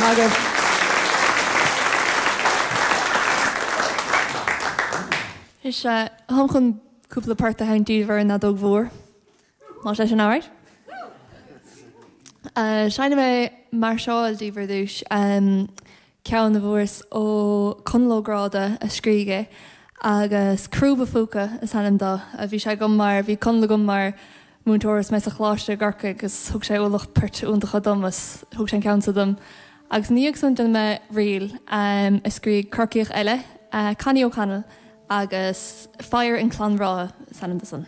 Maith agaibh. Is ea, táim chun cúpla port a sheinnt daoibh ar an fheadóg mhór. Má tá sé sin alright? Seinnfidh mé máirseáil daoibh ar dtús, ceann a bhfuaireas ó Conall Ó Gráda a scrígh é, agus Crúba Phúca is ainm dó. Bhí sé agam mar, bhí Conall agam mar mhúinteoir is mé sa choláiste i gCorcaigh agus thug sé ualach poirt iontacha dom is thug sé an ceann seo dom. Agus ina dhiaidh san déanfaidh mé ríl a scrígh Corcaíoch eile, Connie O'Connell, agus Fire in Clonbhratha is ainm dó san.